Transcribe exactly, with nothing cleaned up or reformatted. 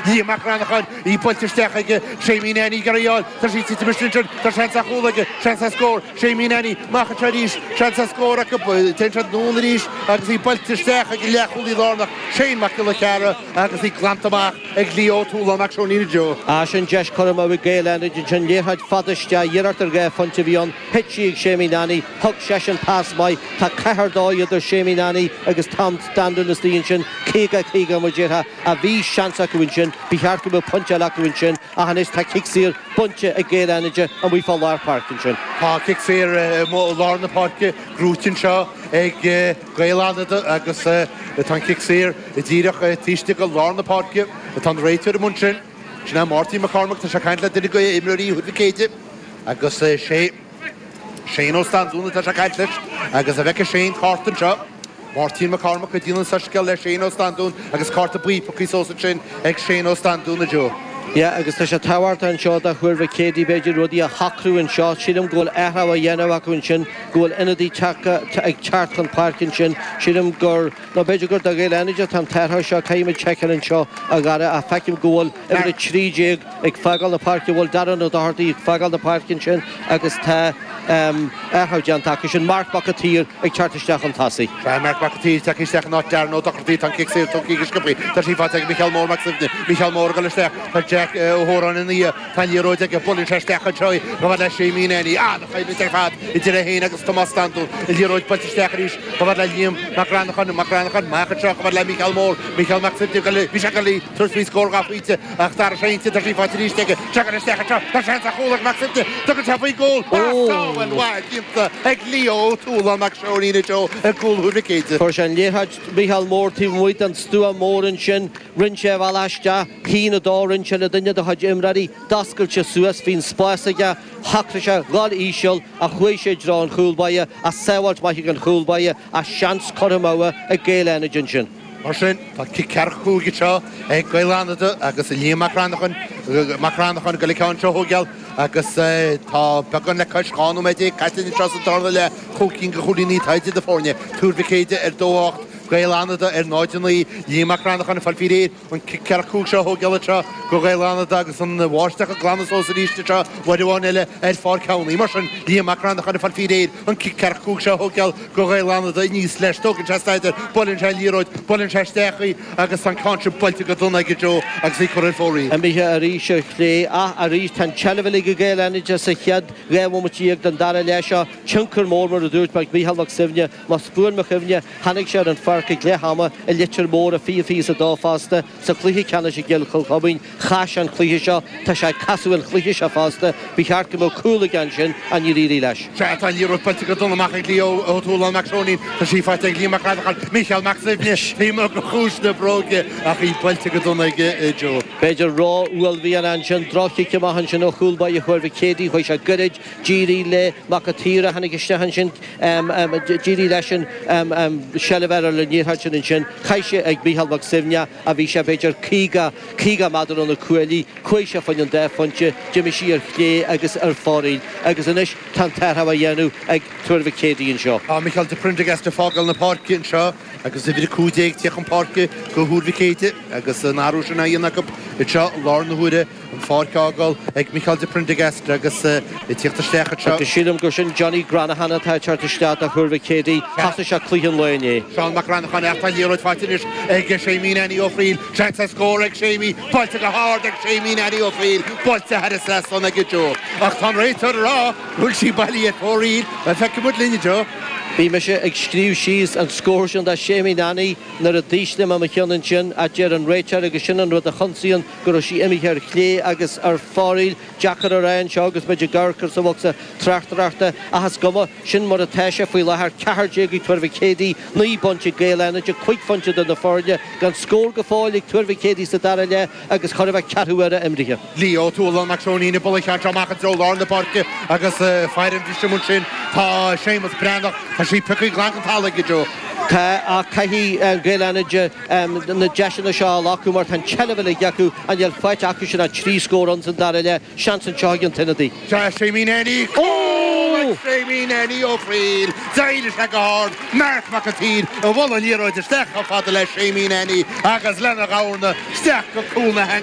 Liam Mac Cranacháin í buailte isteach ag Séimí Nanny Garaíáil Tá sí titim sin tá seans ar chúl aige seans ar scór Séimí Nanny amach anseo arís seans ar scór acu téann siad anonn arís agus í buailte isteach ag leathchúlaí lárnach Shane Mac Giolla Cheara agus í glanta amach ag Leo Túlán Mac Seoinín Joe. A sin deis curtha amú ag Gaeil Fhánada sin liathróid fada isteach iarracht ar dhá phointe a bhí ann thit sí ag Séimí Nanny thug seisean pas maith tá ceathair dó idir Séimí Nanny agus Tom Standún istigh ansin caoga caoga mar déarfá a bhí seans acu ansin ba cheart go mbeadh pointe eile acu ansin ach anois tá cic saor bainte ag Gaeil Fhánada amuigh fá lár páirce ansin. Tá cic saor lár na páirce gnóite anseo ag Gaeil Fhánada agus tá an cic saor díreach taobh go lár na páirce atá an réiteoir amuigh ansin sin é Máirtín McCormack tá sé ag caint le duine de imreoirí Thuar Mhic Éadaigh agus sé Shane Ó Standún atá sé ag caint leis agus a bheith Shane cárta anseo. Máirtín McCormack ag déanamh an soiscéal le Shane Ó Standún agus cárta buí pioctha suas ansin ag Shane Ó Standún a Joe. Yeah, agus tá sé tábhachtach anseo do Thuar Mhic Éadaigh b'fhéidir rudaí a shocrú anseo sílim go bhfuil athrú á dhéanamh acu ansin go bhfuil ionadaí ag teacht chun páirce ansin sílim gur nó b'fhéidir gur do Ghaeil Fhánada tá an t-athrú seo caithfimid seiceáil anseo a Dhara a feicim go bhfuil uimhir a trí déag ag fágáil na páirce bhfuil Darren Ó Dochartaigh ag fágáil na páirce ansin agus tá athrú déanta acu sin Mark Mac an tSaoir ag teacht isteach chun tosaigh. Tá Mark Mac an tSaoir tagtha isteach in áit Darren Ó Dochartaigh tá an cic saor tugtha go sciobtha tá sí faighte ag Micheál Mór Mac Suibhne Micheál Mór ag dul isteach tá Jack Ó hÓráin ina dhiaidh tá an liathróid aige buaileann sé isteach anseo í chomh fada le Séimí Nanny an-choimhlint ar fad idir é féin agus Tomás Standún an liathróid buailte isteach arís chomh fada le Liam Mac Granacháin Mac Granacháin amach anseo chomh fada le Micheál Mór Micheál Mac Suibhne bhí sé ag dul tabhairt faoi scór dhá phointe ach d'athraigh sé intinn tá sí faighte arís aige Teagann isteach anseo tá seans ar chúl ag Mac Suibhne tugann sé faoin gcúl sábháil mhaith déanta ag Leo Ó Tualáin Mac Seoinín Joe ag cúl Thuar Mhic Éadaigh. Fuair sé an liathróid Micheál Mór taobh amuigh den stua mór ansin rinne sé a bhealach isteach haon a dó rinne sé le duine dá chuid imreoirí d'oscail sé suas bhí an spás aige shocraigh sé dhul íseal ach chuaigh sé i dtreo an chúl báire ach sábháilt maith ag an chúl báire ach seans curtha amú ag Gaeil Fhánada ansin. Mar sin tá cic ceathracha cúig anseo ag Gaeil Fhánada agus Liam Mac Cranacháin Mac Cranacháin ag dul an ceann seo a thógáil agus tá beagán le cois dhá nóiméad déag caite anseo sa darna leath cúig cinn de chúilíní atá idir na foirne Tuar Mhic Éadaigh ar dó ocht Gaeil Fhánada ar náid a naoi Liam Mac Cranacháin ag fáil faoi réir an cic ceathracha cúig seo a thógáil anseo do Ghaeil Fhánada agus an bháisteach ag glanadh suas arís anseo uair amháin eile ar Pháirc Sheánie. Mar sin Liam Mac Cranacháin ag fáil faoi réir an cic ceathracha cúig seo a thógáil do Ghaeil Fhánada aníos leis tógann sé staidear buaileann sé an liathróid buaileann sé isteach í agus an ceann sin buailte go dona aige Joe agus í curtha ar fóraoil. Imithe arís ar chlé ach arís tá an tseilbh uilig ag Gaeil Fhánada sa chéad dhá bhomaite déag den dara leath seo tionchar mór mar a dúirt Mac Micheál Mac Suibhne más buan mo chuimhne tháinig sé ar an pháirc ag leath ama i Leitir Móir i fiche fiche is a dó fosta sa chluiche ceannais i gCill Chomhchuibhinn chaith sé an cluiche seo tá sé ag casadh an chluiche seo fosta ba cheart go mbeadh cúl aige ansin ach níor éirigh leis. Sea tá an liathróid buailte go dona amach ag Leo Ó Tualáin Mac Seoinín tá sí faighte ag Liam Mac Cranacháin Micheál Mac Suibhne taobh amuigh de chuas na bróige ach í buailte go dona aige Joe. B'fhéidir ró-uaillmhian ansin droch-chic amach ansin ó chúl báire Thuar Mhic Éadaigh chuaigh sé gairid d'éirigh le Mac an tSaoir a tháinig isteach ansin d'éirigh leis an seilbh ar an liathróid sin ansin chaith sé ag Micheál Mac Suibhne a bhí sé b'fhéidir caoga caoga méadar ó na cuaillí chuaigh sé fá choinne an dá phointe d'imigh sí ar chlé agus ar fóraoil agus anois tá an t-athrú á dhéanamh ag Tuar Mhic Éadaigh anseo. Tá Micheál de Prendergast ag fágáil na páirce anseo agus uimhir a cúig déag ag teacht chun páirce do Thuar Mhic Éadaigh agus an athrú sin á dhéanamh acu anseo i lár na huaire an pháirc á fhágáil ag Micheál de Prendergast agus ag teacht isteach anseo. Agus sílim gur sin Johnny Granahan atá ag teacht isteach do Thuar Mhic Éadaigh thosaigh sé cluiche an lae inné. Seán Mac Granacháin ach tá an liathróid faighte anois ag Séimí Nanny Ó Fríl seans ar scór ag Séimí buailte go hard ag Séimí Nanny Ó Fríl buailte thar an trasnán aige Joe ach tá an réiteoir ag rá go bhfuil sí bailí ar fóraoil bhuel feicfidh muid linn Joe. Bhí mise ag scríobh síos an scór sin do Séimí Nanny nuair a d'ísligh mé mo cheann ansin a deir an réiteoir agus sin an rud a chionsaíonn go raibh sí imithe ar chlé agus ar fóraoil deacair a rá anseo agus muid ag amharc sa bhocsa tráchtaireachta ach is cuma sin mar atá sé faoi láthair ceathair déag ag Tuar Mhic Éadaigh naoi bpointe ag Gaeil Fhánada cúig phointe do na foirne gan scór go fóill ag Tuar Mhic Éadaigh sa dara leath agus chor a bheith ceathrú uaire imrithe. Leo Tualann Mac Seoinín ag bualadh an cheann seo amach i dtreo lár na páirce agus fear an bhriseadh ansin tá Séamus Breathnach tá sí pioctha glan den talamh aige Joe. Tá ach caithfidh Gaeil Fhánada na deiseanna seo a ghlacadh mar tá an tseilbh uilig acu ach níl faighte acu sin ach trí scór ann san dara leath seans anseo ag an t-ionadaí. Sea Séimí Nanny cúl Séimín Annie Ó Fríl, D'éiligh sé go hard Mark Mac an tSaoir a bhuail an liathróid isteach chomh fada le Séimín Annie agus lena dhorna isteach go cúl na